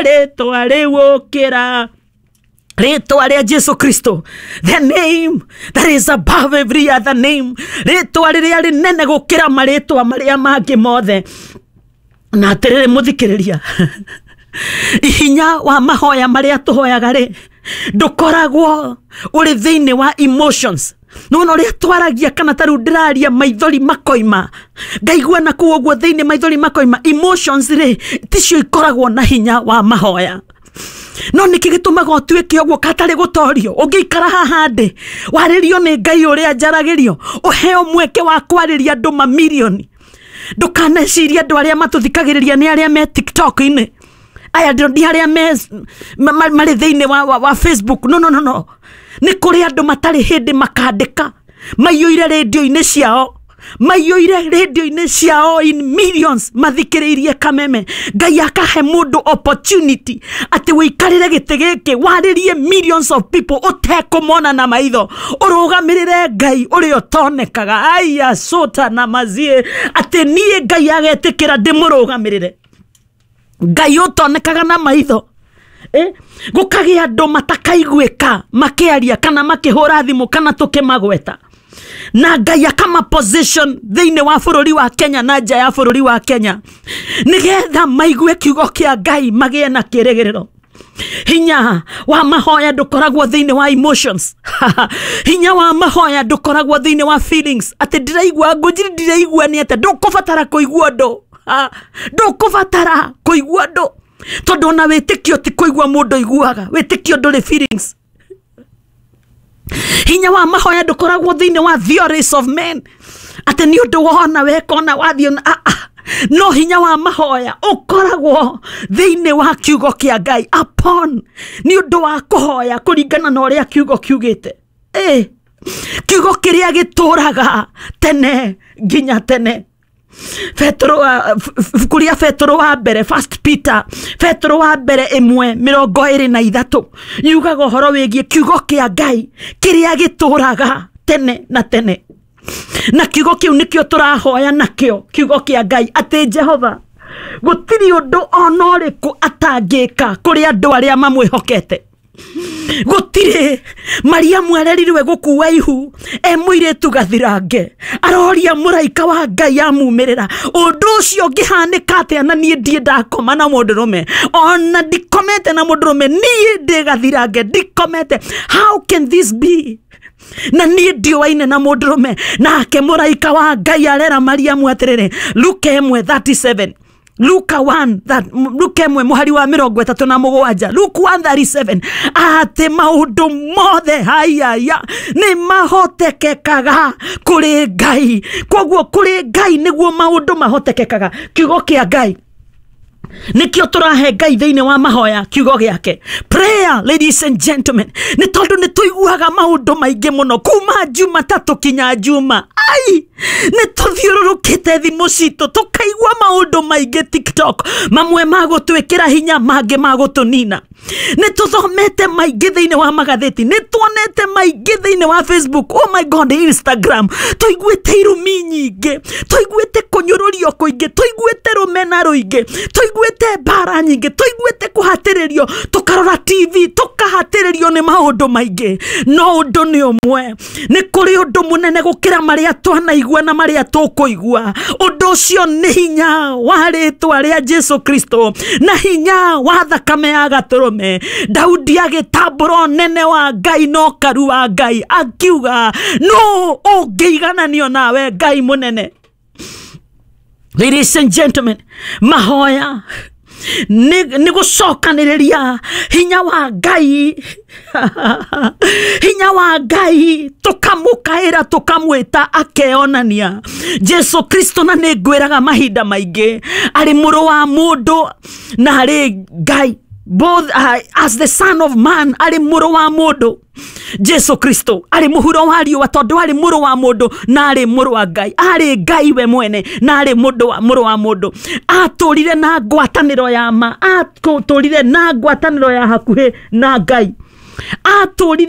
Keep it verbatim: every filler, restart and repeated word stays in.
Rĩtwa rĩu ũkĩra rĩtwa rĩa Jesu Kristo, the name that is above every other name, rĩtwa rĩrĩa rĩnene gũkĩra marĩtwa marĩa mangĩ mothe. Na atĩrĩrĩ, mũthikĩrĩria, ihinya wa mahoya marĩa tũhoyaga rĩ, ndũkoragwo ũrĩ thĩinĩ wa emotions. Nona ũrĩa twaragia, kana ta rĩu ndĩraria, maithori makoima, ngaigua na kũu ũguo thĩinĩ maithori makoima. Emotions rĩ, ticio ikoragwo na hinya wa mahoya. No nĩkĩ gĩtũmaga ũtuĩke ũguo katarĩ gũtorio? Ũngĩikara haha ndĩ warĩrio nĩ Ngai ũrĩa njaragĩrio, ũheo mweke wa kwarĩria andũ mamirioni. Ndũkanecirie andũ arĩa matũthikagĩrĩria nĩ arĩa me TikTok-inĩ, aya nĩ arĩa me ma- ma- marĩ thĩinĩ wa, wa, wa Facebook. No, no, no, no, nĩ kũrĩ andũ matarĩ hĩndĩ makandĩka, maiyũire rĩndio-inĩ ciao, maiyũire rĩndio-inĩ ciao in millions, mathikĩrĩirie Kameme. Ngai akahe mũndũ opportunity atĩ wĩikarĩre gĩtĩ gĩkĩ, warĩrie millions of people ũtekũmona na maitho, ũrũgamĩrĩre Ngai ũrĩa ũtonekaga. Aya cũta na mazie atĩ niĩ Ngai agetĩkĩra ndĩmũrũgamĩrĩre, Ngai ũtonekaga na maitho. Eh, gũkagĩa andũ matakaiguĩka makĩaria kana makĩhũra thimũ kana tũkĩmagweta, na Ngai akama position thĩinĩ wa bũrũri wa Kenya na nja ya bũrũri wa Kenya, nĩgetha maigue kiugo kĩa Ngai, magĩe na kĩrĩgĩrĩro. Hinya wa mahoya ndũkoragwo thĩinĩ wa emotions. Hinya wa mahoya ndũkoragwo thĩinĩ wa feelings, atĩ ndĩraigua ngũnjiri, ndĩraigua nĩ atĩ ndũkũbatara kũigua ũndũ. Ha, ndũkũbatara kũigua ũndũ, tondũ ona wĩtĩkio ti kũigua mũndũ aiguaga. Wĩtĩkio ndũrĩ feelings. Hinya wa mahoya ndũkoragwo thĩinĩ wa theories of men, atĩ nĩ ũndũ wona wekona wathiĩ na- ah, ah. No hinya wa mahoya ũkoragwo thĩinĩ wa kiugo kĩa Ngai, upon nĩ ũndũ wa kũhoya kũringana na ũrĩa kiugo kiugĩte. Eh, kiugo kĩrĩa gĩtũraga tene nginya tene. Petero wa ibuku rĩa Petero wa mbere, First Peter, Petero wa mbere ĩmwe mĩrongo ĩrĩ na ithatũ, yugaga ũhoro wĩgiĩ kiugo kĩa Ngai kĩrĩa gĩtũraga tene na tene. Na kiugo kĩu nĩkĩo tũrahoya nakĩo, kiugo kĩa Ngai, atĩ Jehova gũtirĩ ũndũ ona ũrĩkũ atangĩka kũrĩ andũ arĩa mamwĩhokete. Gũtirĩ. Mariamu arerirwe gũkua ihu e mũirĩtu gathirange, aroria mũraika wa Ngai amumĩrĩra, ũndũ ũcio ũngĩhanĩka atĩa na niĩ ndiĩ ndakoma na mũndũrũme, ona ndikomete na mũndũrũme, niĩ ndĩ gathirange, ndikomete? How can this be na niĩ ndiũaine na mũndũrũme? Nake mũraika wa Ngai arera Mariamu atĩrĩrĩ, Luka ĩmwe thirty-seven, Luka moja that, Luka ĩmwe mũhari wa mĩrongo ĩtatũ na mũgwanja, Luke one thirty-seven, atĩ maũndũ mothe hayaya nĩ mahotekekaga kũrĩ Ngai. Koguo kũrĩ Ngai nĩguo maũndũ mahotekekaga. Kiugo kĩa Ngai nikio tũrahe Ngai thĩinĩ wa mahoya, kiugo gĩake. Prayer, ladies and gentlemen, nĩ tondũ nĩ tũiguaga maũndũ maingĩ mũno kuma Jumatatũ kinya Juma. Ai, nĩ tũthiũrũrũkĩte thimũ citũ, tũkaigua maũndũ maingĩ TikTok, mamwe ma gũtwĩkĩra hinya, mangĩ ma gũtũnina. Nĩ tũthomete maingĩ thĩinĩ wa magathĩti, nĩ tuonete maingĩ thĩinĩ wa Facebook, oh my God, Instagram. Tũiguĩte irumi nyingĩ, tũiguĩte kũnyũrũrio kũingĩ, tũiguĩte rũmena rũingĩ, tũiguĩte mbara nyingĩ, tũiguĩte kũhatĩrĩrio, tũkarora T V tũkahatĩrĩrio nĩ maũndũ maingĩ. No ũndũ nĩ ũmwe, nĩ kũrĩ ũndũ mũnene gũkĩra marĩa twanaigua na marĩa tũkũigua. Ũndũ ũcio nĩ hinya wa rĩtwa rĩa Jesu Kristo na hinya wa thakame ya gatũrũme. Daudi agĩtambũra ũnene wa Ngai na ũkaru wa Ngai, akiuga, "No ũngĩigananio nawe, Ngai mũnene?" Ladies and gentlemen, mahoya nĩ nĩ gũcokanĩrĩria hinya wa Ngai, hinya wa Ngai, tũkamũkaĩra, tũkamwĩta, akeonania. Jesu Kristo, na nĩ ngwĩraga mahinda maingĩ, arĩ mũrũ wa mũndũ na arĩ Ngai, both uh, as the Son of Man, arĩ mũrũ wa mũndũ. Jesu Kristo arĩ mũhuro wa riũa, tondũ arĩ mũrũ wa mũndũ na arĩ mũrũ wa Ngai. Arĩ Ngai we mwene na arĩ mũndũ wa mũrũ wa mũndũ. Atũrire na ngwatanĩro ya ma, atũrire na ngwatanĩro ya hakuhĩ na Ngai, atũrire.